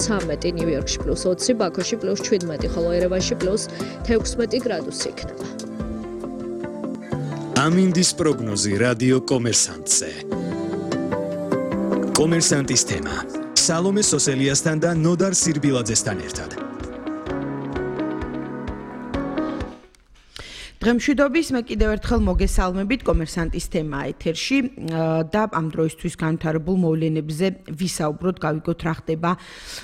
13 ნიუ-იორკში +20, ბაქოში +17, ხოლო ერევანში +16 გრადუსი იქნება. ამინდის პროგნოზი რადიო კომერსანტზე. კომერსანტის თემა. სალომე სოსელიასთან და ნოდარ სირბილაძესთან ერთად. დღემშვიდობის მე კიდევ ერთხელ მოგესალმებით კომერსანტის თემა ეთერში და ამ დროისთვის განვითარებულ მოვლენებზე ვისაუბროთ, გავიგოთ რა ხდება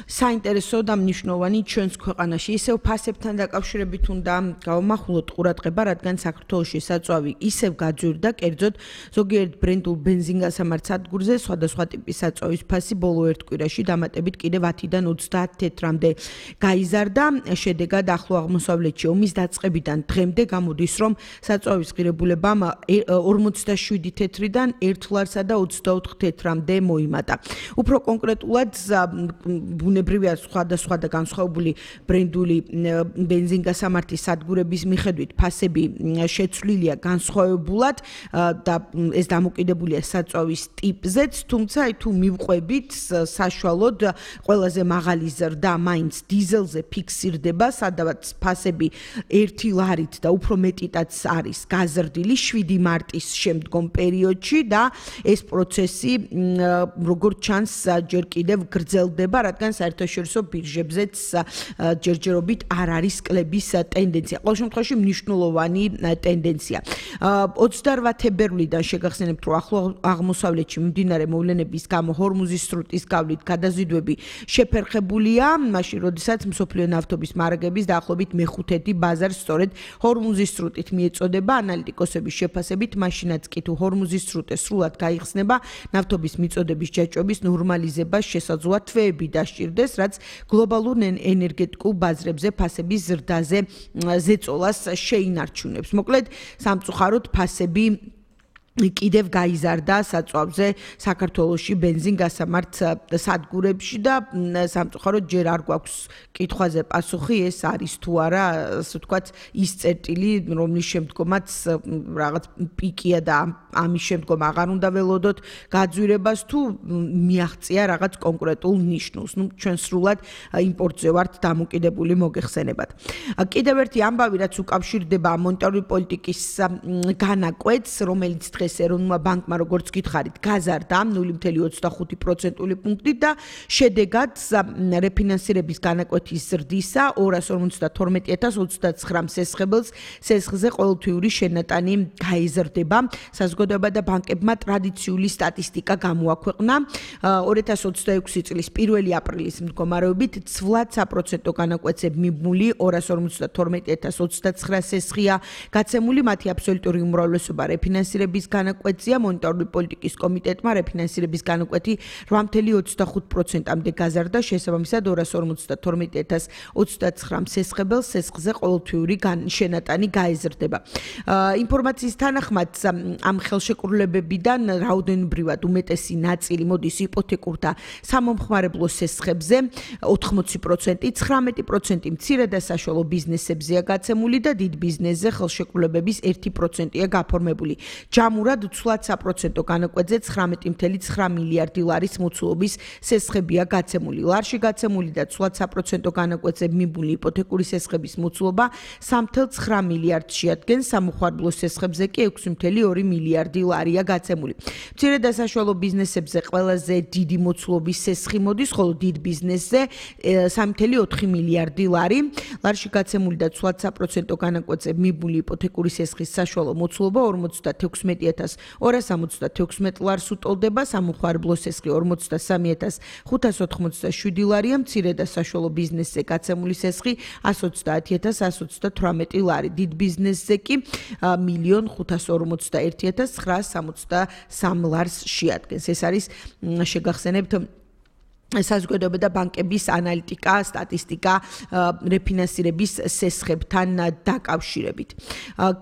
საინტერესო და მნიშვნელოვანი ჩვენს ქვეყანაში. ისევ ფასებთან დაკავშირებით უნდა გავამახვილოთ ყურადღება, რადგან საქართველოში საწვავი ისევ გაძვირდა, კერძოდ ზოგიერთ ბრენდულ ბენზინგასამართ სადგურზე სხვადასხვა ტიპის საწვავის ფასი ბოლო ერთ კვირაში დამატებით კიდევ 10-დან 30 თეთრამდე გაიზარდა. შედეგად ახლო აღმოსავლეთში ომის დაწყებიდან დღემდე გამოდის რომ საწვავის ღირებულებამ 47 თეთრიდან 1 ლარსა და 24 თეთრამდე მოიმატა. უფრო კონკრეტულად ბუნებრივია სხვადასხვა და განსხვავებული ბრენდული ბენზინგასამართის სადგურების მიხედვით ფასები შეცვლილია განსხვავებულად და ეს დამოკიდებულია საწვავის ტიპზეც, თუმცა თუ მივყვებით საშუალოდ ყველაზე მაღალი ზრდა მაინც დიზელზე ფიქსირდება, სადაც ფასები 1 ლარით და უფრო მეტითაც არის გაზრდილი 7 მარტის შემდგომ პერიოდში და ეს პროცესი როგორც ჩანს ჯერ კიდევ გრძელდება, რადგან საერთაშორისო ბირჟებზეც ჯერჯერობით არ არის კლების ტენდენცია. ყოველ შემთხვევაში მნიშვნელოვანი ტენდენცია. 28 თებერვლიდან შეგახსენებთ, რომ ახლო აღმოსავლეთში მიმდინარე მოვლენების გამო ჰორმუზის სრუტის გავლით გადაზიდვები შეფერხებულია, მაშინ როდესაც მსოფლიო ნავთობის მარაგების დაახლოებით მეხუთედი ბაზარს სწორედ ჰორმუზის სრუტით მიეწოდება. ანალიტიკოსების შეფასებით, მაშინაც კი თუ ჰორმუზის სრუტე სრულად გაიხსნება, ნავთობის მიწოდების ჯაჭვების ნორმალიზებას შესაძლოა თვეები დასჭირდეს, რაც გლობალურ ენერგეტიკულ ბაზრებზე ფასების ზრდაზე ზეწოლას შეინარჩუნებს. მოკლედ, სამწუხაროდ ფასები კიდევ გაიზარდა საწვავზე საქართველოში ბენზინგასამართ სადგურებში და სამწუხაროდ ჯერ არ გვაქვს კითხვაზე პასუხი, ეს არის თუ არა, ასე ვთქვათ, ის წერტილი, რომლის შემდგომაც რაღაც პიკია და ამის შემდგომ აღარ უნდა ველოდოთ გაძვირებას თუ მიაღწია რაღაც კონკრეტულ ნიშნულს. ჩვენ სრულად იმპორტზე ვართ დამოკიდებული მოგეხსენებათ. კიდევ ერთი ამბავი, რაც უკავშირდება მონეტარული პოლიტიკის განაკვეთს, რომელიც დღეს ეროვნულმა ბანკმა, როგორც გითხარით, გაზარდა 0.25% პუნქტით და შედეგად რეფინანსირების განაკვეთის ზრდისა 252.029 სესხებელს სესხზე ყოველთვიური შენატანი გაიზრდება. საზოგადოება და ბანკებმა ტრადიციული სტატისტიკა გამოაქვეყნა. 2026 წლის 1 აპრილის მდგომარეობით ცვლად საპროცენტო განაკვეთზე მიმული 252.029 სესხია გაცემული, მათი აბსოლუტური უმრავლესობა რეფინანსირების განაკვეთზეა. მონეტარული პოლიტიკის კომიტეტმა რეფინანსირების განაკვეთი 8.25%-მდე გაზარდა, შესაბამისად 252.029 სესხებელს სესხზე ყოველთვიური შენატანი გაეზრდება. ინფორმაციის თანახმად ამ ხელშეკრულებებიდან რაოდენობრივად უმეტესი ნაწილი მოდის იპოთეკურ და სამომხმარებლო სესხებზე 80%, 19% მცირე და საშუალო ბიზნესებზეა გაცემული და დიდ ბიზნესზე ხელშეკრულებების 1%-ია გაფორმებული. ჯამურად ცვლად საპროცენტო განაკვეთზე 19.9 მილიარდი ლარის მოცულობის სესხებია გაცემული. ლარში გაცემული და ცვლად საპროცენტო განაკვეთზე მიმული იპოთეკური სესხების მოცულობა 3.9 მილიარდს შეადგენს, სამომხმარებლო სესხებზე კი 6.2 მილიარდი ლარია გაცემული. მცირე და საშუალო ბიზნესებზე ყველაზე დიდი მოცულობის სესხი მოდის, ხოლო დიდ ბიზნესზე 3.4 მილიარდი ლარი. ლარში გაცემული და ცვლად საპროცენტო განაკვეთზე მიმული იპოთეკური სესხის საშუალო მოცულობა 46.276 ლარს უტოლდება, სამომხმარებლო სესხი 43.587 ლარია, მცირე და საშუალო ბიზნესზე გაცემული სესხი 130.118 ლარი, დიდ ბიზნესზე კი 1.541.963 ლარს შეადგენს. ეს არის შეგახსენებთ საზოგადოება და ბანკების ანალიტიკა, სტატისტიკა რეფინანსირების სესხებთან დაკავშირებით.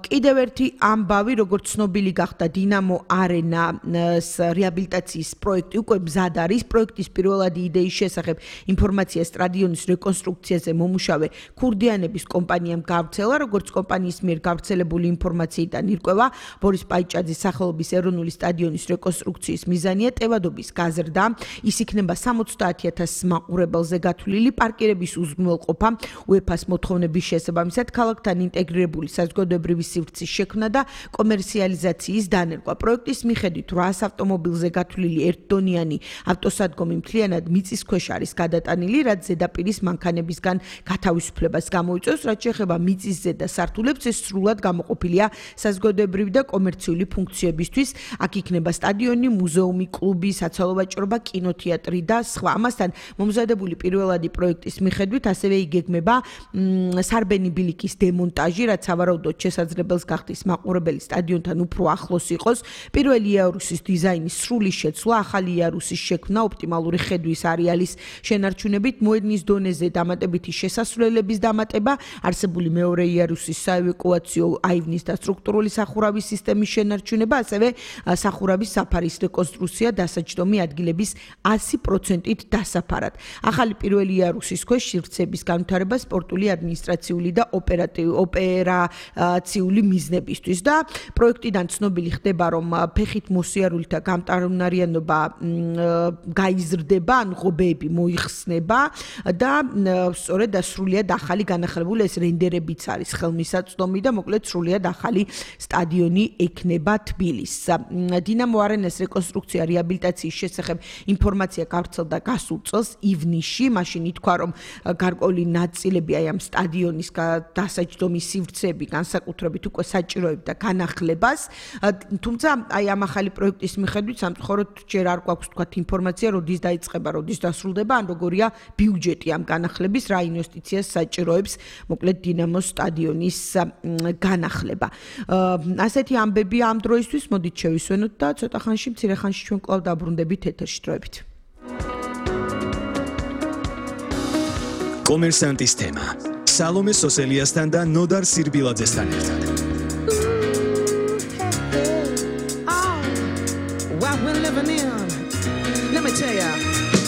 კიდევ ერთი ამბავი, როგორც ცნობილი გახდა, დინამო არენას რეაბილიტაციის პროექტი უკვე მზად არის. პროექტის პირველადი იდეის შესახებ ინფორმაცია სტადიონის რეკონსტრუქციაზე მომუშავე ქურდიანების კომპანიამ გავრცელა, როგორც კომპანიის მიერ გავრცელებული ინფორმაციიდან ირკვევა, ბორის პაიჭაძის სახელობის ეროვნული სტადიონის რეკონსტრუქციის მიზანია ტევადობის გაზრდა. ის იქნება 60 30,000 მაყურებელზე გათვლილი პარკირების უზრუნველყოფა, UEFA-ს მოთხოვნების შესაბამისად ქალაქთან ინტეგრირებული საზოგადოებრივი სივრცის შექმნა და კომერციალიზაციის დანერგვა. პროექტის მიხედვით 800 ავტომობილზე გათვლილი ერთდონიანი ავტოსადგომი მთლიანად მიწისქვეშ არის გადატანილი, რაც ზედაპირის მანქანებისგან გათავისუფლებას გამოიწვევს, რაც შეეხება მიწის ზედა სართულებს, ეს სრულად გამოყოფილია საზოგადოებრივი და კომერციული ფუნქციებისთვის. აქ იქნება სტადიონი, მუზეუმი, კლუბი, საცალო ვაჭრობა, კინოთეატრი და სხვა. ამასთან მომზადებული პირველადი პროექტის მიხედვით ასევე იგეგმება სარბენი ბილიკის დემონტაჟი, რაც სავარაუდოდ შესაძლებელს გახდის მაყურებელი სტადიონთან უფრო ახლოს იყოს. პირველი იარუსის დიზაინის სრული შეცვლა, ახალი იარუსის შექმნა, ოპტიმალური ხედვის არეალის შენარჩუნებით, მოედნის დონეზე დამატებითი შესასვლელების დამატება, არსებული მეორე იარუსის საევაკუაციო აივნის და სტრუქტურული სახურავის სისტემის შენარჩუნება, ასევე სახურავის საფარის რეკონსტრუქცია დასაჯდომი ადგილების 100%-ით დასაფარად. ახალი პირველი იარუსის ქვეშ სივრცეების განვითარება სპორტული, ადმინისტრაციული და ოპერაციული მიზნებისთვის და პროექტიდან ცნობილი ხდება, რომ ფეხით მოსიარულთა გამტარუნარიანობა გაიზრდება, ან ღობეები მოიხსნება და სწორედ სრულიად ახალი განახლებული ეს რენდერებიც არის ხელმისაწვდომი და მოკლედ სრულიად ახალი სტადიონი ექნება თბილისს. დინამო არენას რეკონსტრუქცია რეაბილიტაციის შესახებ ინფორმაცია გავრცელდა გასულ წელს ივნისში, მაშინ ითქვა, რომ გარკვეული ნაწილები აი ამ სტადიონის დასაჯდომის სივრცეები განსაკუთრებით უკვე საჭიროებდა განახლებას, თუმცა აი ამ ახალი პროექტის მიხედვით სამწუხაროდ ჯერ არ გვაქვს თქვათ ინფორმაცია, როდის დაიწყება, როდის დასრულდება, ან როგორია ბიუჯეტი ამ განახლების, რა ინვესტიციას საჭიროებს, მოკლედ დინამოს სტადიონის განახლება. ასეთი ამბები ამ დროისთვის, მოდით შევისვენოთ და ცოტა ხანში, მცირე ხანში ჩვენ კვლავ დაბრუნდებით ეთერში დროებით. კომერსანტის თემა. სალომე სოსელიასთან და ნოდარ სირბილაძესთან ერთად. What we're living in, let me tell ya.